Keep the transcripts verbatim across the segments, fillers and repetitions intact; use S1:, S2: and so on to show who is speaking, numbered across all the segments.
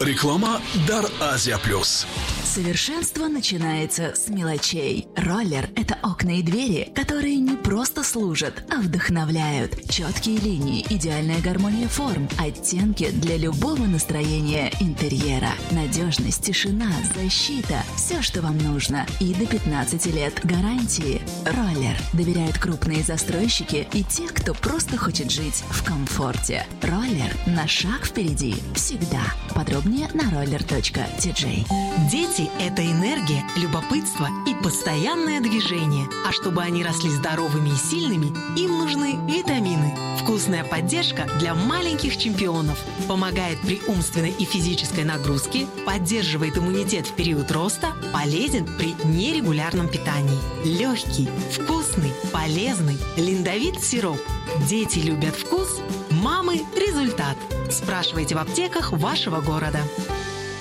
S1: Реклама дар Азия Плюс.
S2: Совершенство начинается с мелочей. Роллер – это окна и двери, которые не просто служат, а вдохновляют. Четкие линии, идеальная гармония форм, оттенки для любого настроения интерьера. Надежность, тишина, защита – все, что вам нужно. И до пятнадцати лет гарантии. Роллер доверяют крупные застройщики и те, кто просто хочет жить в комфорте. Роллер на шаг впереди всегда. Подробнее на roller точка ти джей.
S3: Дети – это энергия, любопытство и постоянное движение. А чтобы они росли здоровыми и сильными, им нужны витамины. Вкусная поддержка для маленьких чемпионов. Помогает при умственной и физической нагрузке, поддерживает иммунитет в период роста, полезен при нерегулярном питании. Легкий, вкусный, полезный Линдовит сироп. Дети любят вкус, мамы – результат. Спрашивайте в аптеках вашего города.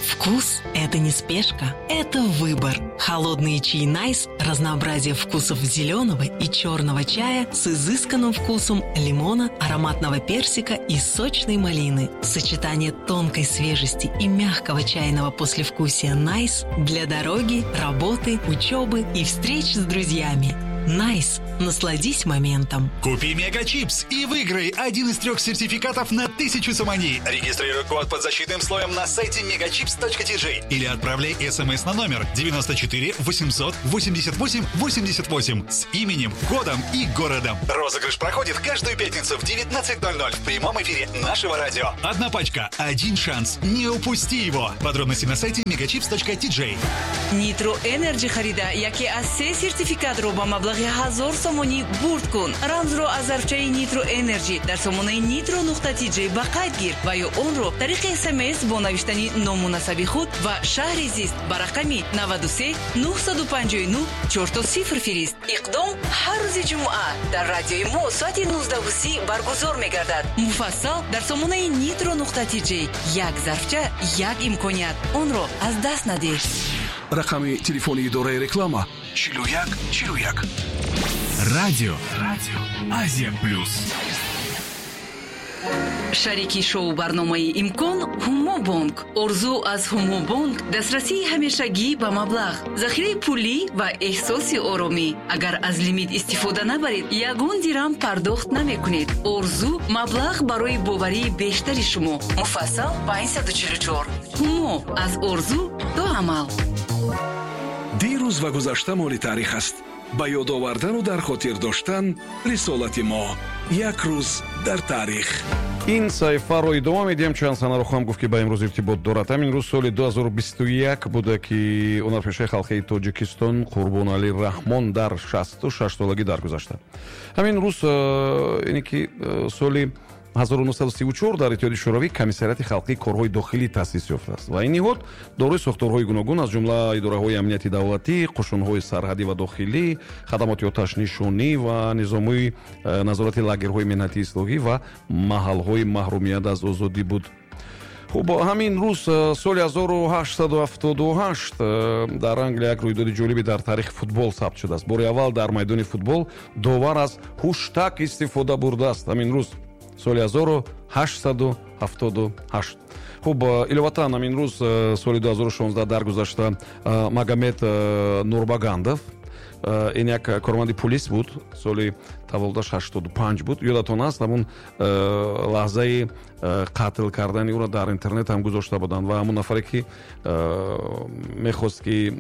S3: Вкус – это не спешка, это выбор. Холодные чаи Найс – разнообразие вкусов зеленого и черного чая с изысканным вкусом лимона, ароматного персика и сочной малины. Сочетание тонкой свежести и мягкого чайного послевкусия Найс для дороги, работы, учебы и встреч с друзьями. Найс. Насладись моментом.
S4: Купи Мегачипс и выиграй один из трех сертификатов на тысячу сомони. Регистрируй код под защитным слоем на сайте мегачипс точка ти джей или отправляй смс на номер девяносто четыре восемьсот восемьдесят восемь восемьдесят восемь с именем, кодом и городом. Розыгрыш проходит каждую пятницу в девятнадцать ноль ноль в прямом эфире нашего радио. Одна пачка, один шанс. Не упусти его. Подробности на сайте мегачипс точка ти джей.
S5: Nitro Energy харида яке аз се сертификатро ба маблағи ҳазор сомонӣ бурд кун. Рамзро аз зарфчаи Nitro Energy дар сомонаи nitro нуқта ти джей ба қайд гир ва ё онро тариқи СМС бо навиштани ному насаби худ ва шаҳри зист ба рақами наваду се нуҳсаду панҷоҳу нуҳ чорто сифр фирист. Иқдом ҳар рӯзи ҷумъа дар радиои мо соати нуздаҳу си баргузор мегардад. Муфассал дар сомонаи nitro нуқта ти джей. Як зарфча, як имконият. Онро аз даст надеҳ.
S1: Рақами телефони идораи реклама чилу як чилу як.
S6: Радио, Радио Азия Плюс.
S5: Шарики шоу барномаи Имкон Ҳумобонк. Орзу аз Ҳумобонк дастрасии ҳамешагӣ ба маблағ, захираи пулӣ ва эҳсоси оромӣ. Агар аз лимит истифода набаред, ягон дирам пардохт намекунед. Орзу маблағ барои боварии бештари шумо. Муфассал панҷсаду чилу чор. Ҳумо аз орзу до амал.
S1: Дирӯз ва гузашта моли таърих аст. Ба ёд овардану дар хотир доштан рисолати мо. Як рӯз дар таърих.
S7: Ин саҳифаро идома медиҳем. Чанд санаро хоҳам гуфт, ки ба имрӯз иртибот дорад. Ҳамин рӯз соли ду ҳазору бисту як буда, ки ҳунарпешаи халқии Тоҷикистон Қурбоналӣ Раҳмон дар шасту шаш солагӣ даргузашта. Ҳамин рӯз ине ки соли ҳазору нӯҳсаду сиву чор дар Иттиҳоди Шӯравӣ Комиссариати халқии корҳои дохилӣ таъсис ёфтааст ва ин ниҳод дорои сохторҳои гуногун аз ҷумла идораҳои амнияти давлатӣ, қушунҳои сарҳадӣ ва дохилӣ, хадамоти оташнишонӣ ва низомҳои назорати лагерҳои меҳнатии ислоҳӣ ва маҳалҳои маҳрумият аз озодӣ буд. Хуб, ҳамин рӯз соли ҳазору ҳаштсаду ҳафтоду ҳашт дар Англия як рӯйдоди ҷолибе дар таърихи футбол сабт шудааст. Бори аввал дар майдони футбол довар аз ҳуштак истифода бурдааст. Ҳамин рӯз соли ҳазору ҳаштсаду ҳафтоду ҳашт. Хуб, иловатан ҳамин рӯз соли ду ҳазору шонздаҳ даргузашта Магомед Нурбагандов, ин як корманди полис буд, соли таваллудаш ҳаштоду панҷ буд. Ёдатон аст, ҳамун лаҳзаи қатл кардани ӯро дар интернет ҳам гузошта буданд ва ҳамун нафаре ки мехост ки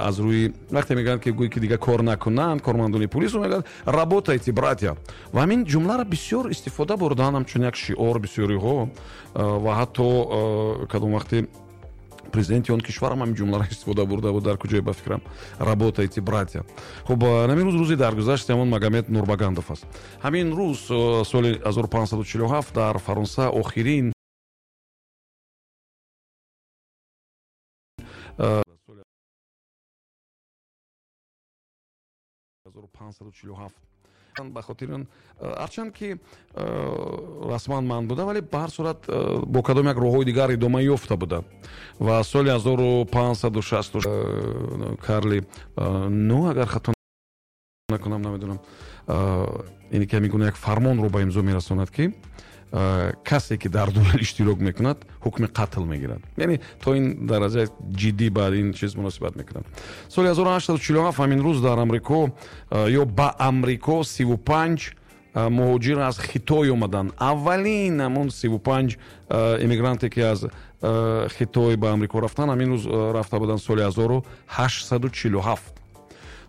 S7: аз рӯи вақте мегӯянд ки гӯй ки дига кор накунанд кормандони полис, мегӯянд работайте, братья. Ва ҳамин ҷумларо бисёр истифода бурданд ҳамчун як шиор бисёриҳо ва ҳатто кадом вақте президенти он кишварам ҳамин ҷумларо истифода бурда буд дар куҷое ба фикрам работайте, братья. Хуб, ҳамин рӯз рӯзи даргузашти ҳамон Магомед Нурбагандов аст. Ҳамин рӯз соли ҳазору панҷсаду чилу ҳафт дар Фаронса охирин ҳазору панҷсаду чилу ҳафт ба хотири он ҳарчанд ки расман манъ буда, вале ба ҳар сурат бо кадом як роҳҳои дигар идома ёфта буда. Ва соли ҳазору панҷсаду шасту Карли нӯ, агар хато накунам, намедонам, ине ки ҳамин гуна як фармонро ба имзо мерасонад, ки Касе ки дар дуэл иштирок мекунад, ҳукми қатл мегирад. Яъне то ин дараҷа ҷиддӣ ба ин чиз муносибат мекунад. Соли ҳазору ҳаштсаду чилу ҳафт ҳамин рӯз дар Амрико ё ба Амрико сиву панҷ муҳоҷир аз Хитой омаданд. Аввалин ҳамон сиву панҷ иммигранте, ки аз Хитой ба Амрико рафтанд, ҳамин рӯз рафта буданд, соли ҳазору ҳаштсаду чилу ҳафт.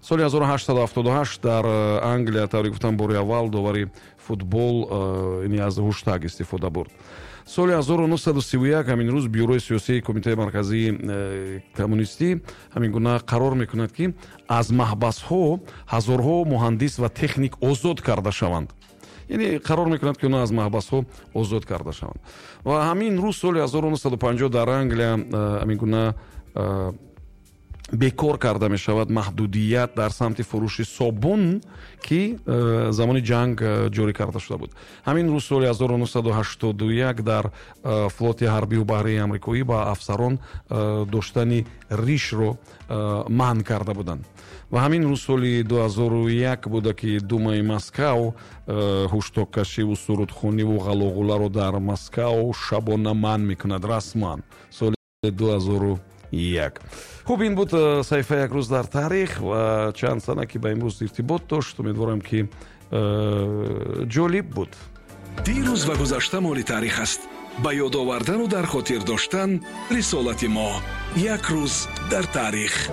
S7: Соли ҳазору ҳаштсаду ҳафтоду ҳашт дар Англия, тавре гуфтам, бори аввал довари футбол ини аз ҳуштак истифода бурд. Соли ҳазору нӯҳсаду сиву як ҳамин рӯз Бюрои сиёсии Кумитаи марказии э, коммунистӣ ҳамин гуна қарор мекунад, ки аз маҳбасҳо ҳазорҳо муҳандис ва техник озод карда шаванд. Яъне қарор мекунад, ки онҳо аз маҳбасҳо озод карда шаванд. Ва ҳамин рӯз соли ҳазору нӯҳсаду панҷоҳ дар Англия э, ҳамин гуна э, бекор карда мешавад маҳдудият дар самти фурӯши собун, ки э, замони ҷанг э, ҷорӣ карда шуда буд. Ҳамин рӯз соли ҳазору нӯҳсаду ҳаштоду як дар э, флоти ҳарбию баҳрии амрикоӣ ба афсарон доштани ришро манъ карда буданд. Ва ҳамин рӯз соли ду ҳазору як буда, ки Думаи Москав ҳуштоккашиву сурудхониву ғалоғуларо дар Москав шабона манъ мекунад расман соли ду ҳазору як. Хуб, ин буд э, саҳифаи «Як рӯз дар таърих» ва чанд сана, ки ба имрӯз иртибот дошт. Умедворам, ки э, ҷолиб буд.
S1: Дирӯз ва гузашта моли таърих аст. Ба ёд овардану дар хотир доштан рисолати мо. «Як рӯз дар таърих».